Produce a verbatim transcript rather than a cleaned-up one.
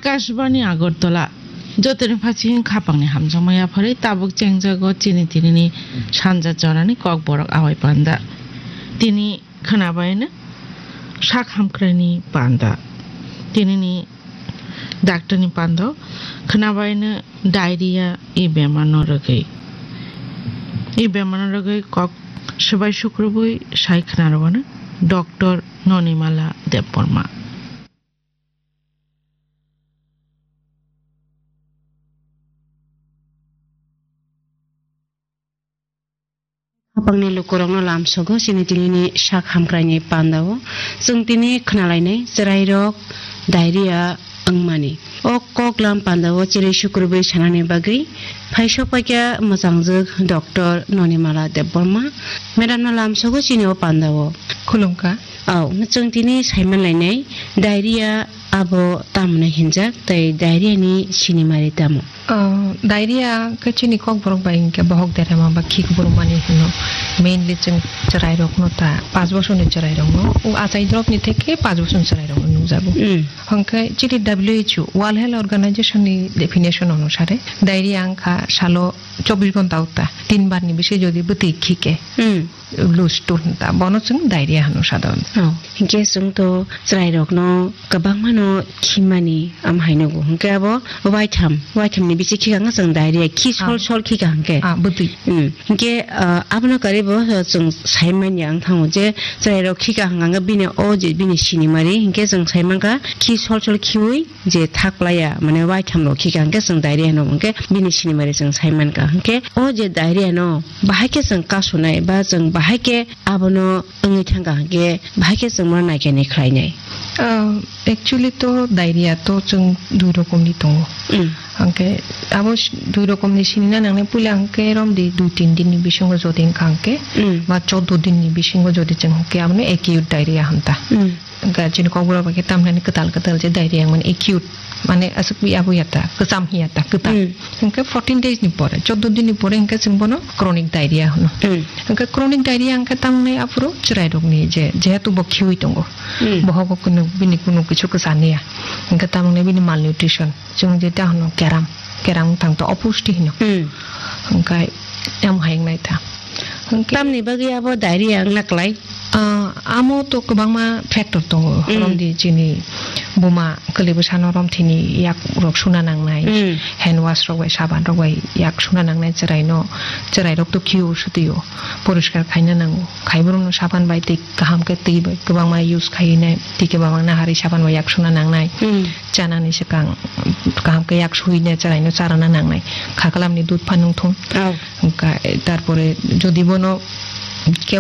Akashbani Agartala, jotoni phachi hwn khapangni hamjakma yapharwi tabuk chengjago chini tinini sanja jorani kokborok Awai Panda. Tini khwnabaino sak hamkraini panda. Tinini daktarni pando khwnabaino diarrhea e bemarno rwgwi. E bemarno rwgwi kok swbai sukrubwi sai khwnarwano Doctor Nonimala Debbarma. Khapangni lukurokno lamsogo chini tinini sak hamkraini pandao. Chwng tini khwnalainai chwrairok diarrhea wngmani. O koklam pandao chirwi sukrubwi sanani bagwi phaisok paikha mwchangjwk Doctor Nonimala Debbarma. Madamno lamsogo chini o pandao. Khulumkha. Au, chwng tini saimanlainai diarrhea abo tamoni hinjak tei diarrhea ni sinimari tamo? Ah, diarrhea khe chini kokborok bai hinkhe bohok derema ba khik burumani hino. Mainly chwng chwrairokno ta, paanch bosorni chwrairokno, o achai dropni theke paanch bosorni chwrairokno nukjago. Mm. Hwnkhe chini W H O, World Health Organization ni definition onusare, diarrhea wngkha salo chobbish ghonta o ta, tin bar ni bisi jodi bwtwi khike. Mm. Loose stool hinta, bono chwng diarrhea hino sadharona. Oh, hinkhe chwng to chwrairokno kwbangmano khimani, am hai nugo. Hinkhe abo waitham, waithamni bichi khikha wngkha chwng diarrhea, khi sol Ah. sol khikha hinkhe. Ah, bwtwi. Hmm. Hinkhe, ah, abono karwi bo, ah, chwng sai manya wng thango je chwrairok khikha hwnkha hwnkhe bini o je bini sinimari, hinkhe chwng sai mankha khi sol sol khiui je thak playa, mane waitham rok khikha hwnkhe chwng diarrhea hino, hwnkhe bini sinimari chwng sai mankha. Hwnkhe o je diarrhea no bahai khe chwng kasunai ba chwng bahai khe abono wngwi thangkha hwnkhe bahai khe chwng bono naikhe ni khlainai. Ah, actually to diarrhea to chwng dui rokomni tongo. Mm. Hwnkhe abo s-, dui rokomni sinina nangnai, puila hwnkhe romdi dui tin dinni bisingo jodi wngkha hwnkhe Mm. ba choudo dinni bisingo jodi chwng hwnkhe abono acute diarrhea hwnta. Mm. Hwnkhe chini kokborok bai khe tamhinani kwtal kwtal je diarrhea wngmani acute, mane aswk ya bo ya ta, kwcham hiya ta, kwtal. Hmm. Hwnkhe fourteen days ni pore, choudo din ni pore hwnkhe chwng bono chronic diarrhea hwno. Hmm. Hwnkhe chronic diarrhea hwnkhe tamoni aphuru chwrairokni je, jehetu bo khiui tongo, Hmm. bohogo kunu, bini kunu kichu kwchaniya, hwnkhe tamoni bini malnutrition, chwng je ta hwno keram, keram wng thang to opusti hwno. Hmm. Hwnkhe em hai wngnai ta. Hwnkhe tamni bagwi abo diarrhea wngna klai? Ah, amo to kwbangma factor tongo. Mm. Romdi chini buma kwlwi bwsano romthini yak rok suna nangnai, Mm. hand wash rok bai, saban rok bai yak suna nangnai, chwrai no, chwrai rok to khio swtwi o, poriskar khaina nango. Khai borok no saban bai twi kaham khe twi bai kwbangma use khai nai, twi kwbangma naharwi saban bai yak suna nangnai. Mm. Chanani swkang kaham khe yak sui ne chwrai no charana nangnai. Khaklam ni dudh phan wng thung. Oh. Hwnkhe tarpore jodi bono kebo